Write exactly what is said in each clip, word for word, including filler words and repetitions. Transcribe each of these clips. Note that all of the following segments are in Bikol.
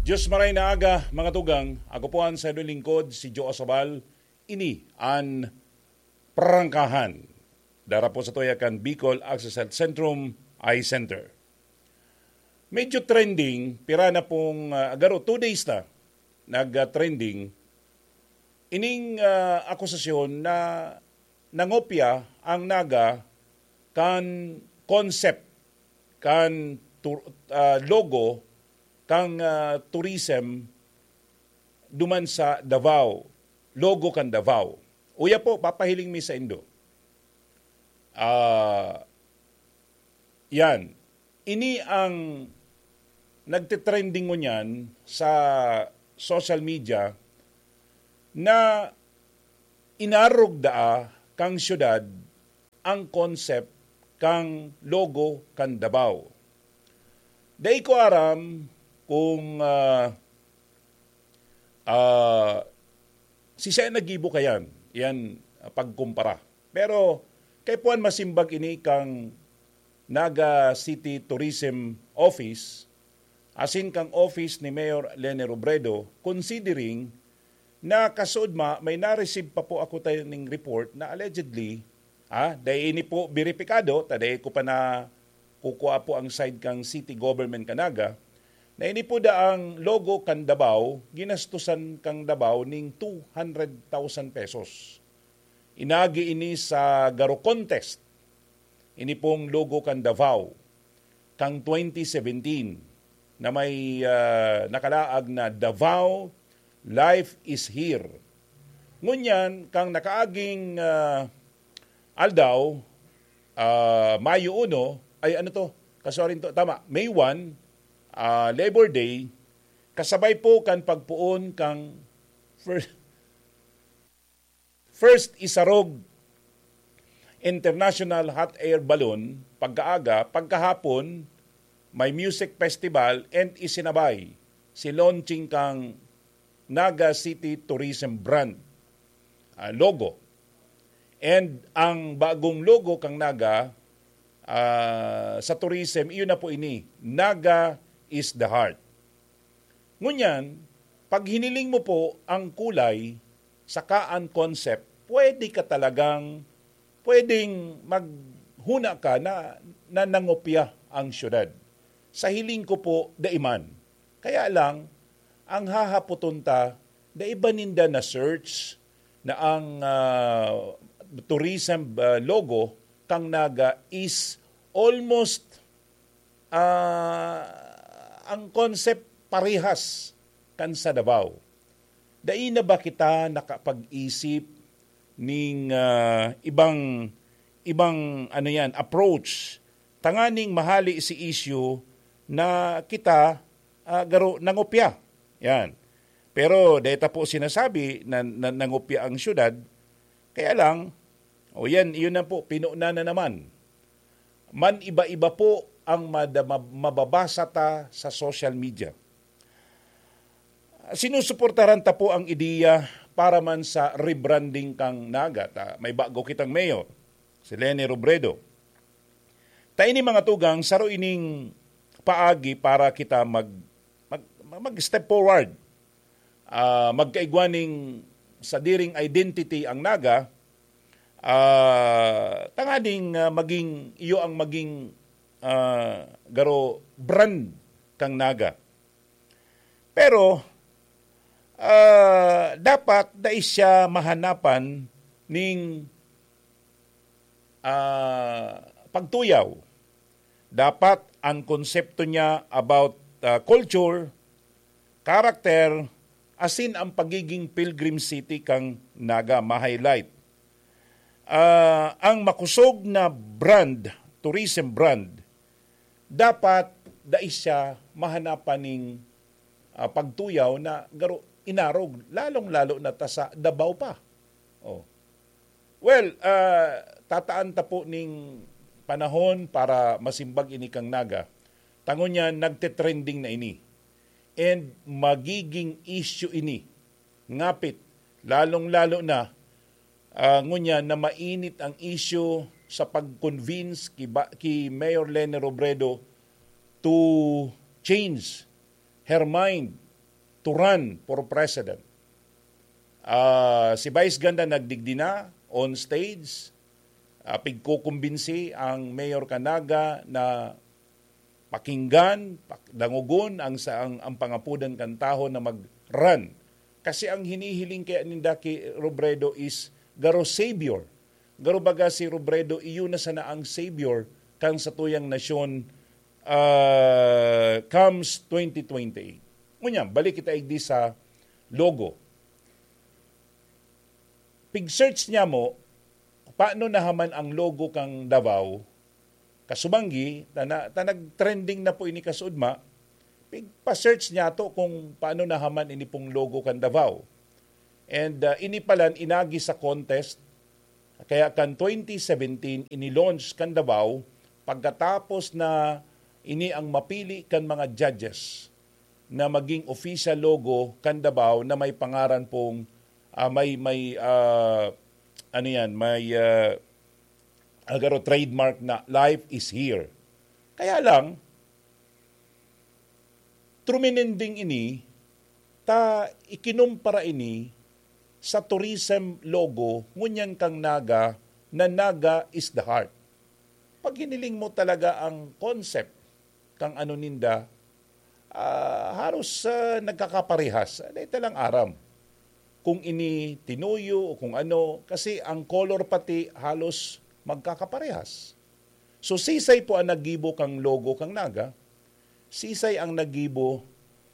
Diyos maray na aga, mga tugang. Ako po ang sayo lingkod, si Joe Asabal. Ini an Prangkahan. Dara po sa tuya kan Bicol Access Health Centrum, Eye Center. Medyo trending, pira na pong, ah, garo, two days na nag-trending ining, ah, akusasyon na nangopya ang Naga kan concept, kan tur-, ah, logo, kan, ah, tourism duman sa Davao, logo kan Davao. Uya po, papahiling mi saindo. Ah, yan. Ini ang nagte-trending ngunyan sa social media na inarog daa kan syudad ang concept kan logo kan Davao. Dai ko aram kung, ah, ah, siisay naggibo kayan, yan, ah, pagkumpara. Pero kaipuhan masimbag ini kan Naga City Tourism Office asin kan office ni Mayor Leni Robredo, considering na kasuodma may na-receive pa po ako tayo ning report na allegedly, ah, dai ini po beripikado, ta dai ko pa na kukua po ang side kang city government kan Naga, na ini po daang logo kan Davao, ginastusan kang Davao ning two hundred thousand pesos. Inagi ini sa garo contest. Ini pong logo kan Davao, kang twenty seventeen, na may, ah, nakalaag na Davao, Life is Here. Ngunyan, kang nakaaging, ah, aldaw, ah, Mayo uno, ay ano to? Kasuarin to, tama, May one, ah, Labor Day, kasabay po kan pagpoon kang fir-, First Isarog International Hot Air Balloon pagkaaga, pagkahapon, may music festival and isinabay si launching kang Naga City Tourism Brand, ah, logo. And ang bagong logo kang Naga, ah, sa tourism, iyon na po ini, Naga is the Heart. Ngunyan, pag hiniling mo po ang kulay saka ang concept, pwede ka talagang, pwedeng maghuna ka na, na nangopya ang syudad. Sa hiling ko po, dai man. Kaya lang, ang hahapoton ta, dai ba ninda na-search na ang, ah, tourism, ah, logo kang Naga is almost, ah, ang concept parehas kan sa Davao. Dai na ba kita nakapag-isip ning, ah, ibang, ibang, ano yan, approach tanganing mahali si issue na kita, ah, garo nangopya? Yan. Pero dai ta po sinasabi na, na nangopya ang syudad. Kaya lang, o yan, iyon na po, pinuna na naman. Man iba-iba po ang mada-, mab-, mababasa ta sa social media. Sinusuportaran ta po ang ideya para man sa rebranding kang Naga, ta may bago kitang mayor, si Leni Robredo. Ta ini, mga tugang, saro ining paagi para kita mag, mag, mag-step forward. Ah, magkaigwa ning sadiring identity ang Naga, ah, tanganing, ah, maging, iyo ang maging, ah, garo brand kang Naga. Pero, ah, dapat dai siya mahanapan ning, ah, pagtuyaw. Dapat ang konsepto niya about, ah, culture, character, asin ang pagiging pilgrim city kang Naga ma-highlight. Ah, ang makosog na brand, tourism brand, dapat dai siya mahanapan ning, ah, pagtuyaw na garo inarog, lalong-lalo na ta sa Davao pa. Oh. Well, ah, tataan ta po ning panahon para masimbag ini kang Naga. Ta ngunyan, nagte-trending na ini. And magiging issue ini. Ngapit, lalong-lalo na, ah, ngunyan na mainit ang issue sa pag-convince ki ba-, ki Mayor Leni Robredo to change her mind to run for president. Ah, si Vice Ganda nagdigdi na on stage, ah, pigkukumbinsi ang mayor kan Naga na pakinggan, pak-, dangogon ang sa-, ang, ang pangapodan kan tawo na mag-run. Kasi ang hinihiling kaya ninda ki Robredo is garo savior. Garo baga si Robredo, iyo na sana ang savior kan satuyang nasyon, ah, comes twenty twenty-eight. Ngunyan, balik kita igdi sa logo. Pig-search niya mo, paano nahaman ang logo kang Davao? Kasumanggi, ta na-, ta nag-trending na po ini kasudma, pig-pa-search niya to kung paano nahaman ini pong logo kan Davao. And, ah, ini palan inagi sa contest, kaya kan twenty seventeen ini-launch kan Davao pagkatapos na ini ang mapili kan mga judges na maging official logo kan Davao na may pangaran pong, ah, may, may, ah, ano yan, may, ah, agaro trademark na "Life is here." Kaya lang, trumininding ini, ta ikinumpara ini sa tourism logo ngunyan kang Naga na "Naga is the heart." Pag hiniling mo talaga ang concept kang ano ninda, ah, haros, ah, nagkakaparehas. Dahil talang aram kung ini tinuyo o kung ano, kasi ang color pati halos magkakaparehas. So, sisay po ang naggibo kang logo kang Naga, sisay ang naggibo,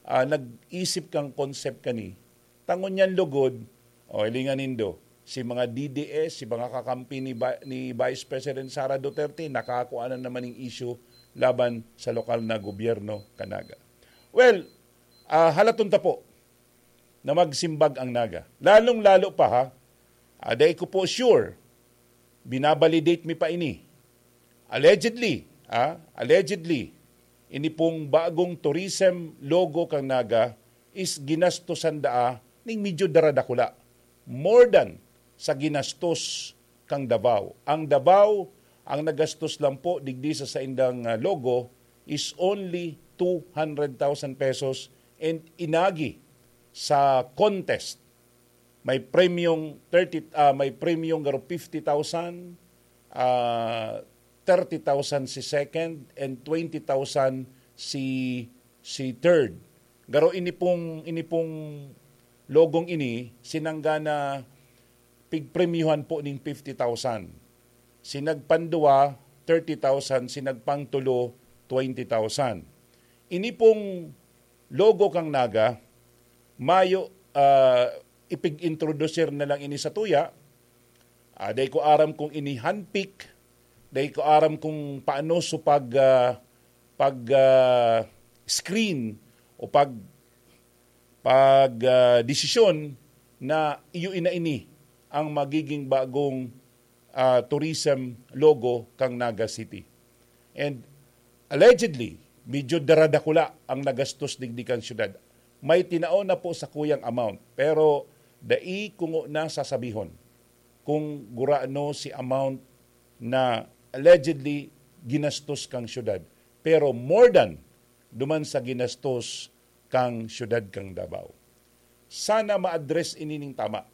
ah, nag-isip kang concept kani. Ta ngunyan lugod, o, hilingan nindo, si mga D D S, si mga kakampi ni Ba-, ni Vice President Sara Duterte, nakakua na naman ning issue laban sa lokal na gobyerno kan Naga. Well, ah, halaton ta po na magsimbag ang Naga. Lalong-lalo pa, ha, ah, dai ko po sure, binabalidate mi pa ini. Allegedly, ah, allegedly, ini pong bagong tourism logo kang Naga is ginastosan daa ning medyo daradakula. More than sa ginastos kang Davao. Ang Davao, ang nagastos lang po digdi sa saindang, ah, logo is only two hundred thousand pesos, and inagi sa contest, may premyong thirty, ah, may premyong garo fifty thousand, ah, thirty thousand si second, and twenty thousand si, si third. Garo ini pong, ini pong logong ini, sinangga na pigpremyuhan po ning fifty thousand. Si nagpanduwa, thirty thousand, si nagpangtulo, twenty thousand. Ini pong logo kang Naga, mayo, ah, ipig-introducer na lang ini sa tuya. Ah, dai ko aram kung ini handpick, dai ko aram kung paano so pag, ah, pag, ah, screen o pag, pag, ah, desisyon na iyo ina ini ang magiging bagong, ah, tourism logo kang Naga City. And allegedly, medyo daradakula ang nagastos digdi kan syudad. May tinao na po sa kuyang amount, pero dai ko ngona sasabihon kung gurano si amount na allegedly ginastos kang syudad. Pero more than duman sa ginastos kang syudad kang Davao. Sana ma-address ini ning tama.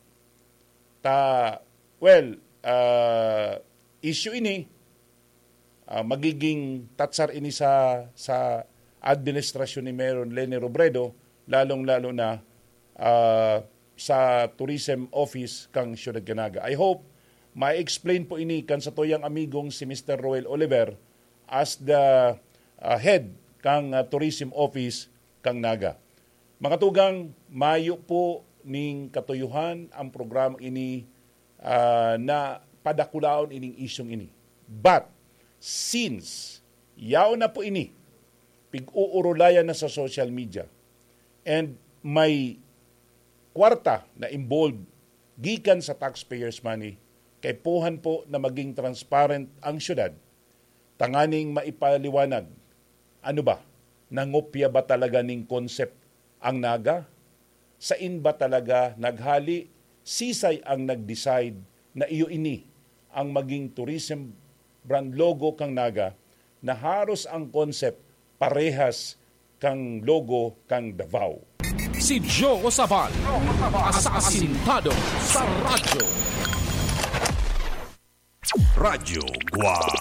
Ta, well, ah, issue ini, ah, magiging tatsar ini sa, sa administrasyon ni Mayor Leni Robredo, lalong-lalo na, ah, sa Tourism Office kang Siyudad kan Naga. I hope ma-explain po ini kan satuyang amigong si Mister Roel Oliver as the, ah, head kang, ah, Tourism Office kang Naga. Mga tugang, mayo po ning katuyuhan ang programa ini, ah, na padakulaon ining isyung ini. But, since yaon na po ini, pig-uurulayan na sa social media, and may kwarta na involved gikan sa taxpayers' money, kaipuhan po na maging transparent ang syudad, tanganing maipaliwanag, ano ba, nangopya ba talaga ning concept ang Naga? Sain ba talaga naghali? Sisay ang nag-decide na iyo ini ang maging tourism brand logo kang Naga, na haros ang concept parehas kang logo kang Davao? Si Joe Sabal, asasintado sa radyo. Radyo Guwang.